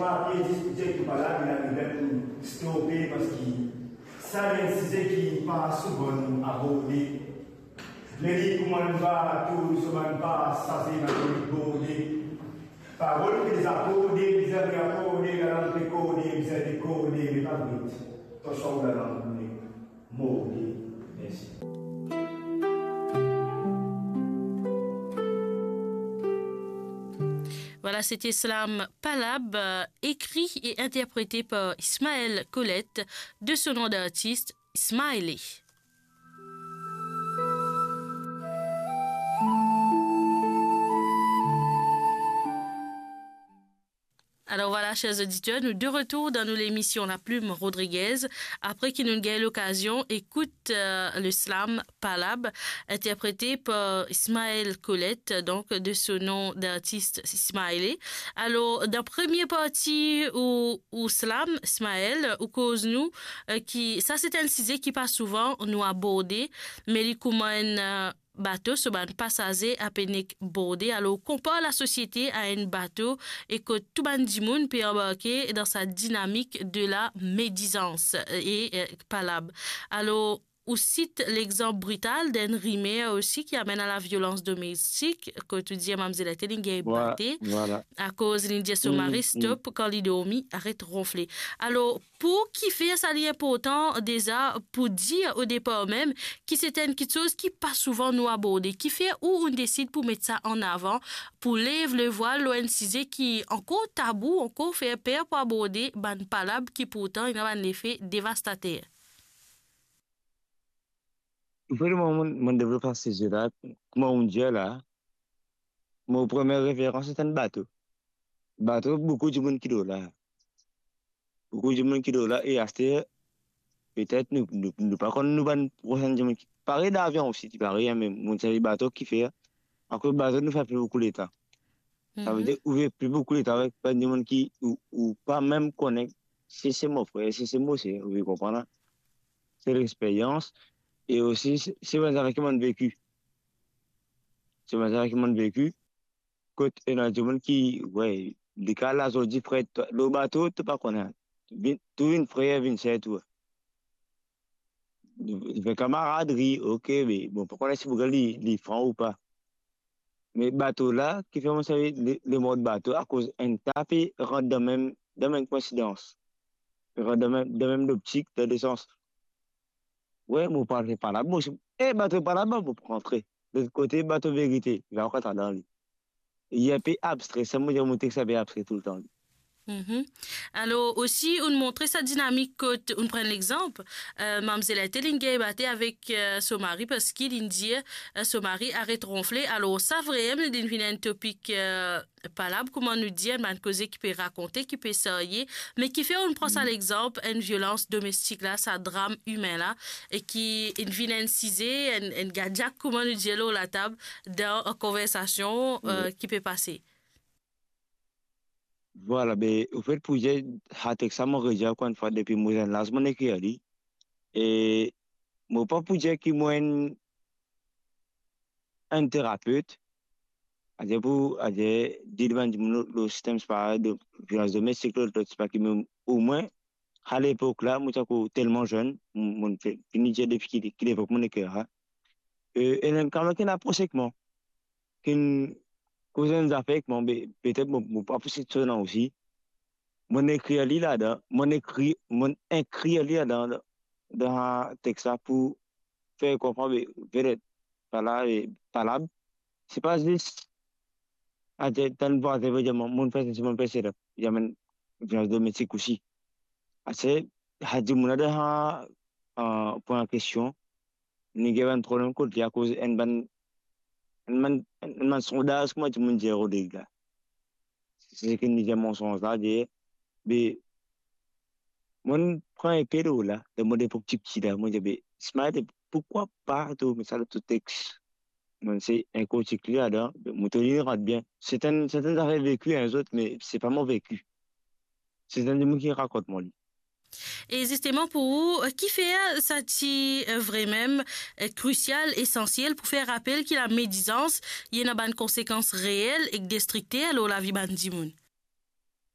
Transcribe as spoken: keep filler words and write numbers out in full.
Papie diskouter ki pa la, li arive pou stope, parski sa li enn size ki pa souvan nou aborde. Me li kouma enn bato, so bann pasaze, bann borde. Parol ki deza kode, bizin reakorde, lalang pe kode, bizin dekode, me pa vit. To swa ou lalang koule. Morde. Mersi. Voilà, c'était Slam Palab, euh, écrit et interprété par Ismaël Colette, de son nom d'artiste, Smiley. Alors voilà, chers auditeurs, nous de retour dans nos, l'émission La Plume Rodriguez, après que nous avons eu l'occasion d'écouter, euh, le slam Palab, interprété par Ismaël Colette, donc de son nom d'artiste Smiley. Alors, dans la première partie ou, ou slam, Ismaël, ou koz nou, euh, ki, sa se enn size ki pa souvan nou aborde, me li kouma enn, euh, bato, so bann pasaze ape nek borde. Alors, konpar lasosiete a enn bato e kot tou bann dimoun pe anbarke dan sa dinamik de la médisance, euh, e, euh, palab. Alors, ou sit lexanp brital d'enn rimer osi ki amenn a la violans domestik, kot ou dir mamzel la te li gagn bate, vwala, akoz li dir so mari stop kan li dormi, aret ronfle. Alors, pou kifer sa li inportan deza pou dir o depar mem ki se enn kiksoz ki pa souvan nou aborde? Kifer ou, ou desid pou met sa an avan, pou lev le vwal lor enn size ki ankor tabou, ankor fer per pou aborde bann palab ki pourtan ena bann lefe devastater? Pou mwa, mo, mo devlop sa size la, kouma ou dir la, mo premie referans se enn bato. Bato, boukou dimoun ki lor la. Boukou dimoun ki lor la, e aster, petet nou, nou, nou pa konn nou bann prosenn dimoun ki, parey dan avion osi, ti parey, me mo servi bato kifer, akoz bato nou fer pli boukou letan. Savedir, ou fer pli boukou letan avek bann dimoun ki, ou, ou pa mem kone si se mo frer, si se mo ser, ou konpran la? Se lexperyans, e osi, se, se bann zafer ki mo'nn veki. Se bann zafer ki mo'nn veki, kot ena dimoun ki, we, li kal la, zot dir, frer, to, lor bato, to pa kone. Vinn, tou vinn frer, vinn ser tou. Li fer kamaradri, ok, me bon, pa kone si pou li, li fran ou pa. Me bato la, kifer mo servi le, lemor bato, akoz enn ta pe rant dan mem, dan mem koinsidans. Rant dan mem, dan mem loptik, dan de sans. We, mo pa fer palab, mo, e bato palab, mo pou rantre. Lot kote, bato verite, li pa ankor dan li. Li inpe abstre, sa mo dir, mo text inpe abstre toultan. Mhm. Alor, osi, ou'nn montre sa dinamik kot, ou'nn pran lexanp, euh, mamzel la te li gagn bate avek, euh, so mari, parski li dir, euh, so mari aret ronfle. Alor, sa vremem, li vinn enn topik, euh, palab, kouma nou dir, bann koze ki pe rakonte, ki pe serye, me kifer ou'nn pran sa lexanp, enn violans domestik la, sa dram imin la, e ki inn vinn enn size, enn, enn gadiak, kouma nou dir, lor latab, dan konversasion, euh, ki pe pase. Vwala, be, anfet, pou dir, sa text sa, mo redir ankor enn fwa, depi mo zenn laz, mo'nn ekrir li. E mo pa pou dir ki mo enn, enn terapet, adir pou, adir, dir bann dimoun lor, lor sistem, sepa de violans domestik, lot, lot, sepa ki, me omwin, a lepok la, mo ti ankor telman zenn, mo, mo'nn fini dir depi ki, ki lepok mo'nn ekrir la. E, e ena enn kamarad ki'nn apros ek mwa, ki'nn koz enn zafer ek mwa, be, petet mo, mo pa pou sit so nom osi. Mo'nn ekrir li ladan, mo'nn ekrir, mo'nn ekrir li ladan, dan, dan text la pou fer konpran, be, vedet, palab, e, palab, se pa zis, adir, tann vwazin pe dir, mo, mo'nn fer sesi, mo'nn fer sela, li amenn violans domestik osi. Aster, sa dimoun la dan sa, euh, pwin an kestion, li gagn bann problem kot li akoz enn bann, enn bann, enn bann sondaz, kouma dimoun dir, Rodrig la. Se ki li dir mansonz la, dir, be, mo'nn pran enpe lor la, dan mo lepok tipti la, mo dir, be, Smiley, poukwa pa to met sa dan to text? Mo'nn se enn kotik li ladan, be, mo trouv li rant bien. Se enn, se enn zafer veki enn zot, me se pa mo veki. Se enn dimoun ki rakont mwa li. E zisteman pou ou, kifer sa ti, euh, vremem, euh, krisial, esansiel pou fer rapel ki lamedizans, li ena bann konsekans reel ek destrikter lor lavi bann dimoun?